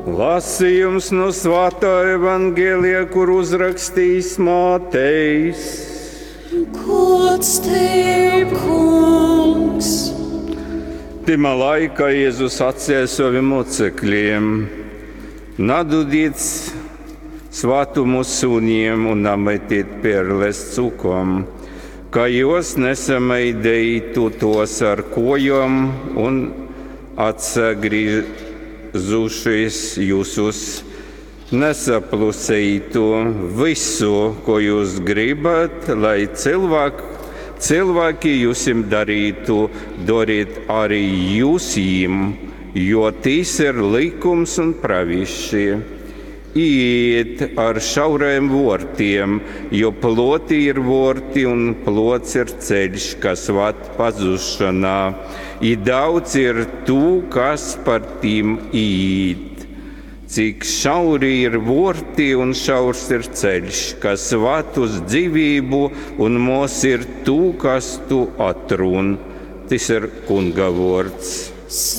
Lasījums no Svātā Evangelija, kur uzrakstījis Mātejs. Gods tev, kungs! Timā laikā Jēzus sacīja saviem mocekļiem: Nadudiet svātumu suniem un nametiet perles cukom, ka jos nesamaidītu tos ar kojom un atsagriezušies jūsus nesaplusītu visu, ko jūs gribat, lai cilvēki, cilvēki jūsim darītu, dariet arī jūs jiem, jo tīs ir likums un praviši. Iet ar šauriem vortiem, jo ploti ir vorti un plots ir ceļš, kas vad pazušanā. I daudz ir tū, kas par tīm iet. Cik šauri ir vorti un šaurs ir ceļš, kas vad uz dzīvību, un mos ir tū, kas tu atrun. Tas ir kunga vords.